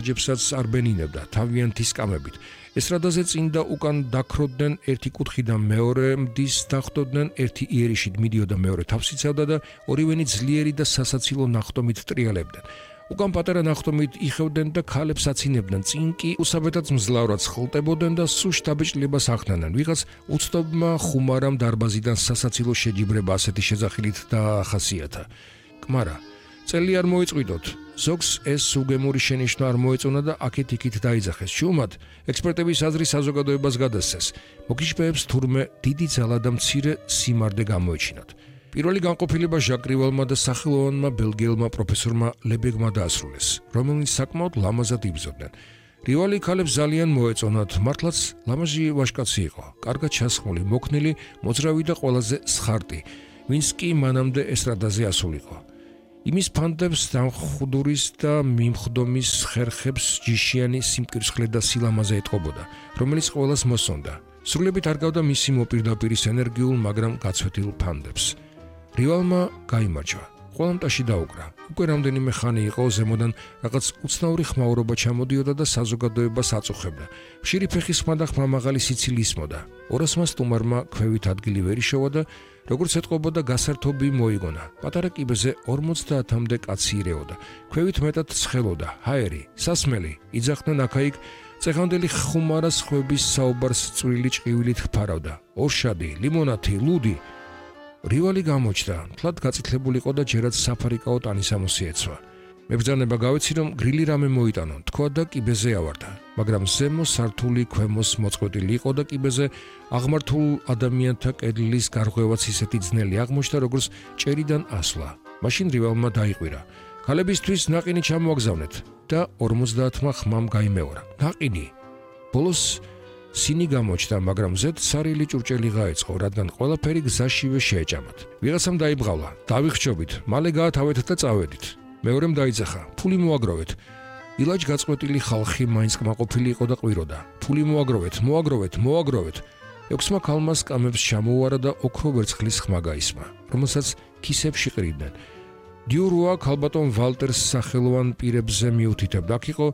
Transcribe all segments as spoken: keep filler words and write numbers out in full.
ჯებსაც არ ბენინებდა თავიანთი სკამებით. ესტრადაზე წინ და უკან დაქროდნენ ერთი კუთხიდან მეორე მდის დახვდოდნენ ერთი იერიშით მიდიოდა მეორე თავს იცავდა და ორივენი ძლიერი და სასაცილო ნახტომით ტრიალებდნენ. უკან პატარა ნახტომით იხევდნენ და ქალებს აცინებდნენ. წინ კი უსაბეთად მძლავრად სხლტებოდნენ და სულ შთაბეჭდილებას ახდენენ. ვიღაც უცნობმა ხუმარამ დარბაზიდან სასაცილო შეჯიბრება ასეთი შეძახილით დაახასიათა. კმარა წელი არ მოიწვიდოთ. ზოგს ეს უგემური შენიშვნა არ მოეწონა და აქეთ-იქით დაიძახეს. შუმად ექსპერტების აზრი საზოგადოებას გადასცეს. მოგიშფეებს თურმე დიდი ძალა და მცირე სიმარდე გამოეჩინათ. პირველი განყოფილება ჟაკ რივალმა და სახელოვანმა ბელგიელმა პროფესორმა ლებეგმა დაასრულეს, რომელნიც საკმაოდ ლამაზად იბრძოდნენ. რივალი ქალებს ძალიან მოეწონათ, მართლაც ლამაზი ვაჟკაცი იყო, კარგად ჩასხმული, მოქნილი, მოძრავი და ყველაზე სხარტი, ვინც კი მანამდე ესტრადაზე ასულიყო. იმის ფანდებს დამხდურის და მიმხდომის ხერხებს ჯიშიანი სიმკირცხლე და სილამაზე ეტყობოდა, რომელიც ყველას მოსონდა. სრულებით არ გავდა მისი მოპირდაპირის ენერგიულ, მაგრამ გაცვეთილ ფანდებს. რივალმა გაიმარჯვა. ყველა მტაში დაუკრა. უკვე რამდენიმე ხანი იყო ზემოდან რაღაც უცნაური ხმაურობა ჩამოდიოდა და საზოგადოებას აწუხებდა. ხშირი ფეხის ხმა და ხმამაღალი სიცილი ისმოდა. ორასმა სტუმარმა ქვევით ადგილი ვერ იშოვა და როგორც ეთყობოდა გასართობი მოიგონა. პატარა კიბეზე ორმოცდაათამდე კაცი ირეოდა. ქვევით მეტად ცხელოდა. ჰაერი, სასმელი, იძახდნენ აქა-იქ. წეღანდელი ხუმარას ხვების საუბარს წვრილი ჭყივილით ჰფარავდა. ორშადი, ლიმონათი, ლუდი. რივალი გამოჩნდა, თლად გაწითლებულიყო და ჯერაც საფარიკაო ტანისამოსი ეცვა. მებრძანება გავეცი, რომ გრილი რამე მოიტანო, თქვა და კიბეზე ავარდა. მაგრამ ზემო სართული ქვემოს მოწყვეტილი იყო და კიბეზე აღმართულ ადამიანთა კედლის გარღვევაც ისეთი ძნელი აღმოჩნდა, როგორც ჭერიდან ასვლა. მაშინ რივალმა დაიყვირა. ქალებისთვის ნაყინი ჩამოაგზავნეთ და ორმოცდაათმა ხმამ გაიმეორა. ნაყინი. ბოლოს სინი გამოჩნდა, მაგრამ ზედ სარილი ჭურჭელი გაეწყო, რადგან ყველაფერი გზაშივე შეეჭამათ. ვიღაცამ დაიბღავლა. დავიხჩობით, მალე გაათავეთ და წავედით. მეორემ დაიძახა, ფული მოაგროვეთ. ილაჯ გაწყვეტილი ხალხი მაინც კმაყოფილი იყო და ყვიროდა. ფული მოაგროვეთ, მოაგროვეთ, მოაგროვეთ. ექვსმა ქალმა სკამებს ჩამოუარა და ოქრო ვერცხლის ხმა გაისმა, რომელსაც ქისებში ყრიდნენ. დიურუა ქალბატონ ვალტერს სახელოვან პირებზე მიუთითებდა. აქ იყო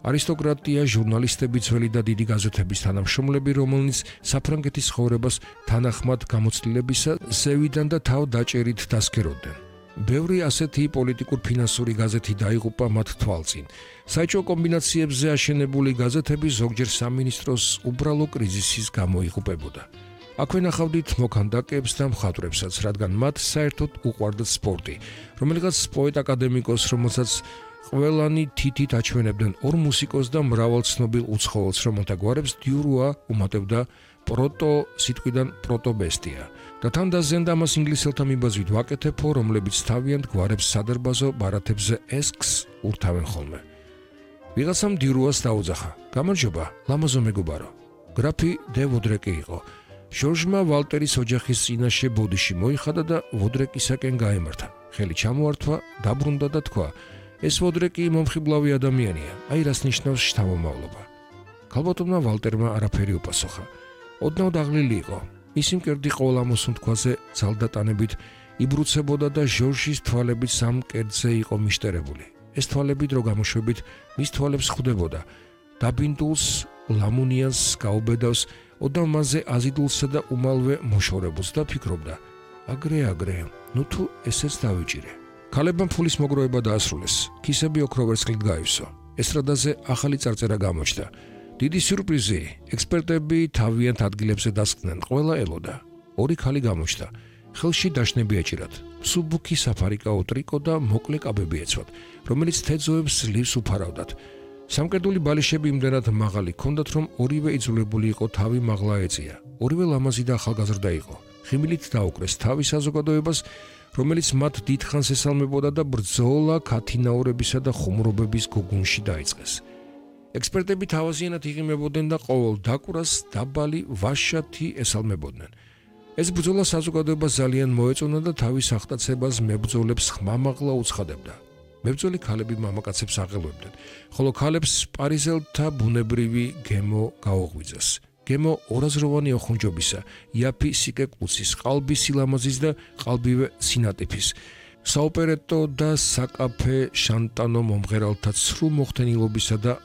არისტოკრატია, ჟურნალისტები, ძველი და დიდი გაზეთების თანამშრომლები, რომელნიც საფრანგეთის ცხოვრებას თანახმად გამოცდილებისა ზევიდან და თავ დაჭერით დასქეროდნენ. ბევრი ასეთი პოლიტიკურ-ფინანსური გაზეთი დაიღუპა მათ თვალწინ. საეჭვო კომბინაციებზე აშენებული გაზეთები ზოგჯერ სამინისტროს უბრალო კრიზისის გამო იღუპებოდა. აქვე ნახავდით მოქანდაკეებს და მხატვრებსაც, რადგან მათ საერთოდ უყვარდათ სპორტი. რომელიღაც პოეტ აკადემიკოს, რომელსაც ყველანი თითით აჩვენებდნენ ორ მუსიკოს და მრავალ ცნობილ უცხოელს, რომელთა გვარებს დიურუა უმატებდა პროტო სიტყვიდან პროტობესტია. და თან დაზიანდა ამას ინგლისელთა მიბაძვით ვაკეთებო, რომლებიც თავიანთ გვარებს სადარბაზო ბარათებზე ესკს ურთავენ ხოლმე. ვიღაცამ დიურუას დაუძახა. გამარჯობა, ლამაზო მეგობარო. გრაფი დე ვოდრეკი იყო. ჟორჟმა ვალტერის ოჯახის წინაშე ბოდიში მოიხადა და ვოდრეკისაკენ გაემართა. ხელი ჩამოართვა, დაბრუნდა და თქვა: ეს ვოდრეკი მომხიბლავი ადამიანია, აი რას ნიშნავს შთამომავლობა. ქალბატონმა ვალტერმა არაფერი უპასუხა. ოდნავ დაღლილი იყო. მისი მკერდი ყოველ ამოსუნთქვაზე ძალდატანებით იბრუცებოდა და ჟორჟის თვალები სამ კედზე იყო მიშტერებული. ეს თვალები დრო გამოშვებით მის თვალებს ხვდებოდა. დაბინდულს, ლამუნიანს გაუბედავს, ოდნავ მასზე აზიდულსა და უმალვე მოშორებულს და ფიქრობდა: აგრე აგრე, ნუ თუ ესეც დავიჭირე. ქალებმა ფულის მოგროვება დაასრულეს. ქისები ოქრო ვერცხლით გაივსო. ესტრადაზე ახალი წარწერა გამოჩნდა. დიდი სიურპრიზი, ექსპერტები თავიანთ ადგილებზე დასხდნენ, ყველა ელოდა. ორი ქალი გამოჩნდა. ხელში დაშნები ეჭირათ. მსუბუქი საფარიკაო ტრიკო და მოკლე კაბები ეცვათ, რომელიც თეძოებს ძლივს უფარავდათ. სამკერდული ბალიშები იმდენად მაღალი ჰქონდათ, რომ ორივე იძულებული იყო თავი მაღლა ეწია. ორივე ლამაზი და ახალგაზრდა იყო. ხიმილით დაუკრეს თავის საზოგადოებას, რომელიც მათ დიდხანს ესალმებოდა და ბრძოლა ქათინაურებისა და ხუმრობების გოგუნში დაიწყეს. ექსპერტები თავაზიანად იღიმებოდნენ და ყოველ დაკვრას დაბალი ვაშათი ესალმებოდნენ. ეს ბრძოლა საზოგადოებას ძალიან მოეწონა და თავის აღტაცებას მებრძოლებს ხმამაღლა უცხადებდა. მებრძოლი ქალები მამაკაცებს აღელვებდნენ, ხოლო ქალებს პარიზელთა ბუნებრივი გემო გაუღვიძეს. გემო ორაზროვანი ოხუნჯობისა, იაფი სიკე კუცის, ყალბი სილამაზის და ყალბივე სინატიფის. საოპერეტო და საკაფე შანტანო მომღერალთა ცრუ მოხდენილობისა და